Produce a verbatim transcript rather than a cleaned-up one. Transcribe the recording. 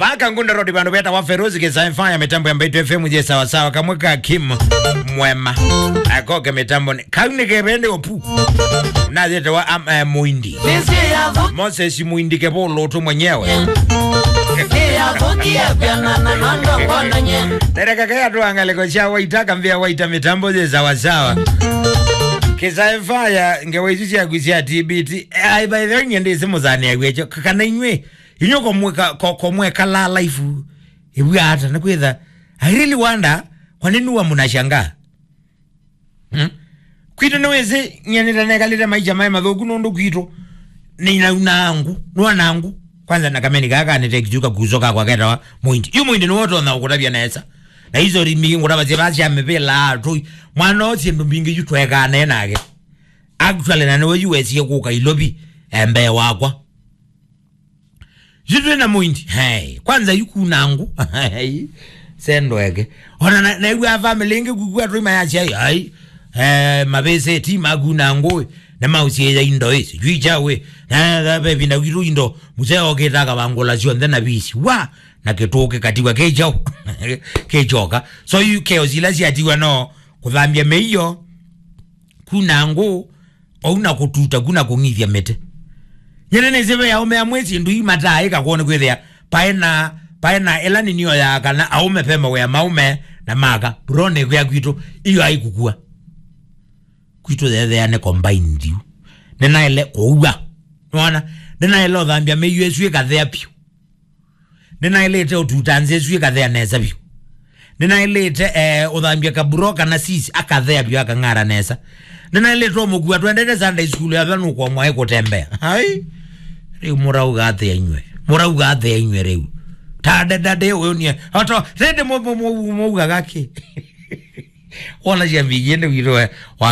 Paka Ngunda Road, vandũ vetawa Ferozi Kisaifa ya mĩtambo ya Mbaitu F M je sawa sawa, kamwe ka Kim Mwema. Akoke mĩtambonĩ. Kau nĩ kevende opu. Nathĩtewa am, eh, Muindi. Moses Muindi Kevolo tu mwenyewe. Nereka kaya tu angaleko cha Waita, kambia Waita mĩtambo je sawa sawa. Kisaifa ya ngewa isu syaku sya T B T. Ai, by the way, nyende simu zane ya gwecho. Kana inywe Inyo komweka, ko-, komweka la life. Ĩw'a ata, nĩ kwĩtha. I really wonder, kwa nini huwa mnashangaa? Hmm? Kwitũ nĩ wĩsĩ, nyie nĩtanekalĩte maisha maĩ mathũku nũndũ kwitũ. Nĩnauna angu, nũana angu. Kwanza na kameni kaka nĩ text yuka kusoka kwa ketawa Muindi. Yu Muindi nĩ woto na ũkũtavya nesa. Na hizo rimi ngũtavasya vasya mĩvĩla atũi. Mwana ũcio ndũ mbingĩ yu twekaa naye nake. Actually, na nĩwe yu wesie kũka Ilovi, eh, mbee wakwa. Yu twĩ na Muindi. Hey, kwanza yu kuna ngũ. Hey, sendweke. Ona na, na yu a family ĩngĩ kukua tũima ya chai. Ai. Eh, mavĩsĩ ti makuna ngũ. Na mausiĩya indo ĩ. Sijui chawe. Na, na, na, ve vinda witu indo. Mzee okĩta akavangũla syonthe na visi. Wa! Na kĩtũkĩ katiwa kĩchau. Kĩchoka. So yu keo sila siatiwa no. Kũthambia mĩio. Kuna ngũ, ou na kũtuta, kuna kũng'ithya mĩtĩ. Nyene nĩsĩ ve aũme amwe syĩndũ ii mataaĩka kwoo nĩ kwĩthĩa paĩ na, paĩ na ĩla nĩnioyaa kana aũme ve mawĩa maũme na maka. Bro, nĩkwĩa kwitũ, iyo ai kũkua. Kwitũ yetheane combined yu. Nĩnaĩle kũua. Nĩwona? Nĩnaĩle ũthambya mĩio ĩsu ĩkathea vyũ. Nĩnaĩlĩte ũtuta nzĩ ĩsu ĩkathea nesa vyũ. Nĩnaĩlĩte, eh, ũthambya kaburo kana sis akathea vyũ akang'ara nesa. Nĩnaĩlĩte ũmũkua twendete Sunday school ya vanu kwa mwaĩ kũtembea. Ai. Rĩu mũrauga atĩa inywe? Mũrauga atĩa inywe rĩu? Ta dada de ũyũ nie. Oto, rende mũ-, mũ-, mũ-, mũugaga kĩ? Wona cia mbingĩ nĩ witũ we. Wa